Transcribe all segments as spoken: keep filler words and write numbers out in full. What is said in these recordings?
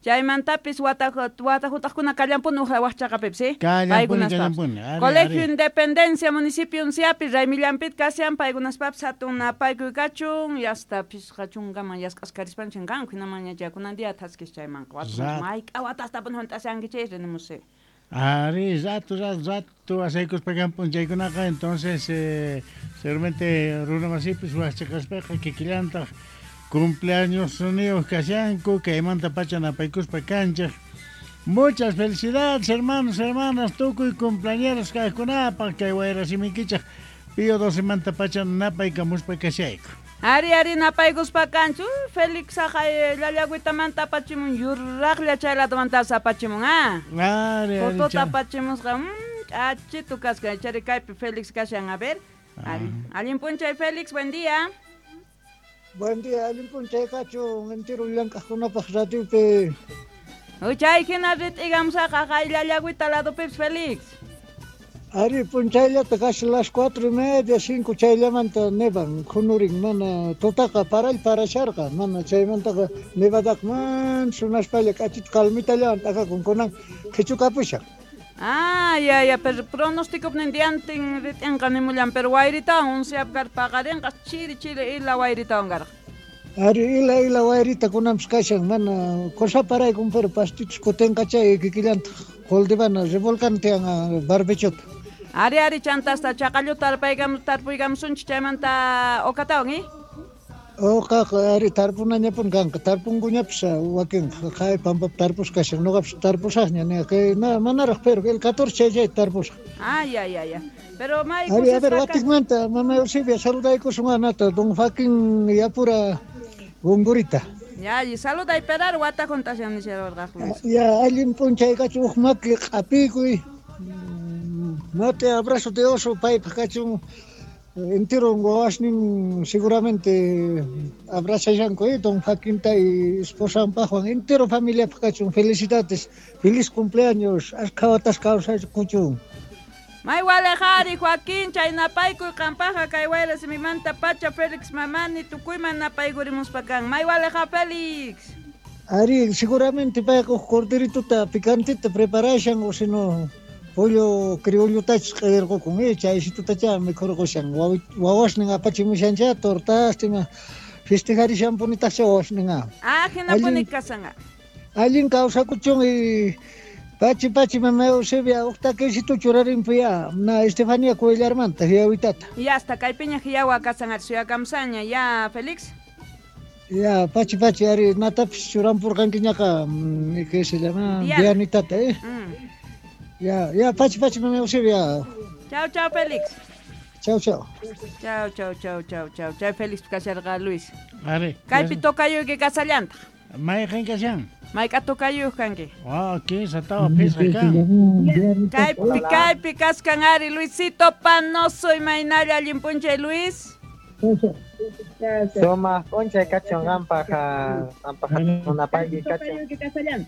Chaymantapis wata wata hutaqkuna kallampuni uqa waqchaqapipis, ¿sí? Kallampuni, kallampuni. Colegio Independencia, municipio Unciapi, raymillampit kashan, paykunaspapis hatun napaykuy kachun, yasta pishqa chunkaman yask'askarispanchin kanku, hinaman ña día thaskis chaymanqa. Wata mayk'a watastapuni hunt'ashankichis, nimusí. Ari, rato, rato, rato, asaykuspa kan p'unchaykunaqa, entonces, eh, seguramente runa masipis waqchaqaspaqa kikillantaq cumpleaños niyuq kashanku, kaymanta pacha napaykuspa kanchik. Muchas felicidades, hermanos, hermanas, tukuy cumpleañeros kaqkunapaq, kay wayra simikichaq Pío doce manta pacha napaykamuspa kashayku. Ari, ari, napaykuspa kanchu, Félix aqay llallagüitamanta apachimun, yuraqlla chay ladomantas apachimun, ah. Ari, ari, Fotota apachimusqa, mm, k'achitu kasqa, chari kaypi Félix kashan, a ver. Ari, allin p'unchay Félix, buen día. Buen día, allin p'unchay kachun, entero llank'aqkunapaq radiopi. Uy, chay hina rit'igamusaq aqay llallagüita ladopipis Félix. Ari, p'unchayllata casi las cuatro y media, cinco chayllamanta nevan, khunurin, mana tutaqa paray parasharqa, mana chaymantaqa nevadaqa man sunaspalla k'achita calmitallawan t'akakun, kunan qhichukapushan. Ah, ya, ya, pero pronóstico diantin rit'inqa nimullan, pero wayritawan unciap kar paqarinqa chiri chiri ila wayritawan karqa. Ari, ila ila wayrita kunanpis kashan, mana cosa paraykun, pero pastitus kutinqa chay kikillantaq qoldivana revolcana tiyan barbechota. Ari, ari, chantasta chaqalluta tarpaykam tarpuykamusunchik chaymanta uqatawan, eh? Uqaqa ari tarpunañapuni kanqa, tarpunkuñapis wakinqa, qhay pampapi tarpusqa kashan, ñuqapis tarpusaqña, kay manaraq, pero el catorce chay chay tarpusaq. Ah, ya, ya, ya. Pero may Ari, a ver, watikmanta, mama Eusebia, saludaykusun anata, don Joaquín Yapura Gungurita. Ya, y saluday perar wata juntashan nisharwarqaq Luis. Ya, allin p'unchay kachun, huk maki q'apiykuy. Mate abrazo de oso paypaq kachun, entero wawasnin seguramente abrazashanku, eh, don Joaquinta y esposanpaqwan, entero familiapaq kachun, felicidades, feliz cumpleaños, ashkha watas kawsaykuchun. May walejari Joaquín, chay napaykuy qampaqqa kay wayra simimanta pacha Félix Mamani tukuyman napaykurimuspa kan. May waleja Félix. Ari, seguramente payqa huk corderituta picantita preparashan, o si no pollo criollotachus q'illarqukun, eh, chaysitutacha mikhurqushan, wawasnin apachimushancha tortas, ima festejarishanpunitaqcha wawasnin. Ah, hinapuni kasanga. Allin kawsakuchun y pachi pachi mama Eusebia, huk takisito churarinpuya, na Estefania Cuellarmanta, hiyawitata. Ya hasta kaypiña hiyawa kasan suyakamsaña, ya Félix. Ya, pachi pachi, ari natapis churampurqankiñaqa, ¿qué se llama? Dianitata, eh. Mm. Ya, ya, pachi pachi mama Eusebia. Chao, chao Félix. Chao, chao. Chao, chao, chao, chao, chao. Chay Félix kasharqa Luis. Ari. Kaypi tocayuyki kasallantaq. Mayqin kashan? Mayk'a tocayuyq kanki? Ah, kinsa tawa phisqa kan. Kaypi, kaypi kaskan ari Luisito Panoso, imaynalla allin p'unchay Luis. Sumaq p'unchay kachun qampaq, qampaq napayki kachun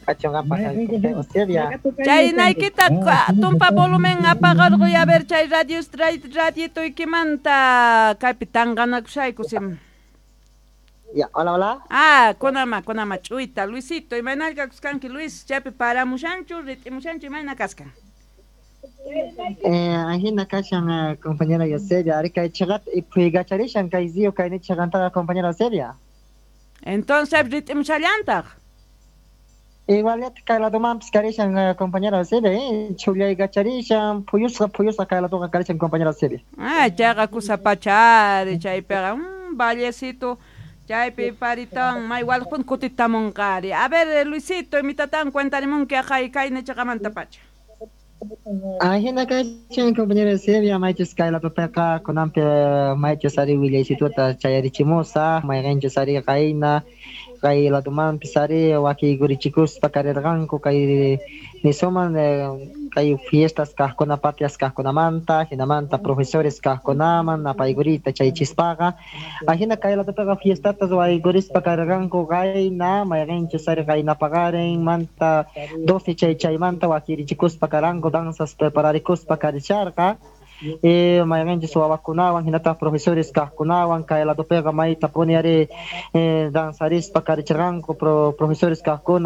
kachun qampaq Eusebia. Chaynaykita tumpa volumen apaqarquy, a ver chay radio radiotuykimanta kaypi tanqanakushayku sim. Ya, hola, hola. Ah, kunama, kunama ch'uyta, Luisito, imaynalla kanki Luis, chaypi paramushanchu, rit'imushanchu, imayna kaskan. Eh, ahina kashan compañera Eusebia, ari kay chaqat iphuykacharishan kay ziyo kay nichaqantaqa compañera Eusebia. Entonces rit'imushallantaq. Igualeta kay ladomanpis karishan compañera Eusebia, eh, chhullaykacharishan, phuyusqa phuyusqa kay ladoqa karishan compañera Eusebia. Ah, chayqa kusa pachari, chaypiqa, mm, vallecito. Chaypi paritawan may walqun kutitamunqari. A ver, Luisito, imitatan cuentarimunki aqay kay nichaqamanta pacha. Ahina kashan compañera Eusebia, maychus kay ladopiqa kunanpi maychus ari willaysituta chayarichimusaq, mayqinchus ari qayna kay ladomanpis ari wakiykurichikuspa karirqanku kay nisuman kay fiestas kaqkuna patrias kaqkunamanta, hinamanta profesores kaqkunaman napaykurita chaychispaqa. Ahina kay ladopiqa fiestata ruwaykurispa karirqanku qayna, mayqinchus ari qayna paqarin manta doce chay chaymanta wakirichikuspa karanku, danzas prepararikuspa karisharqa. eh, mayqinchis wawakunawan hinataq profesores kaqkunawan kay ladopiqa maytapuni ari eh, danzarispa karichirqanku pro, profesores kaqkuna.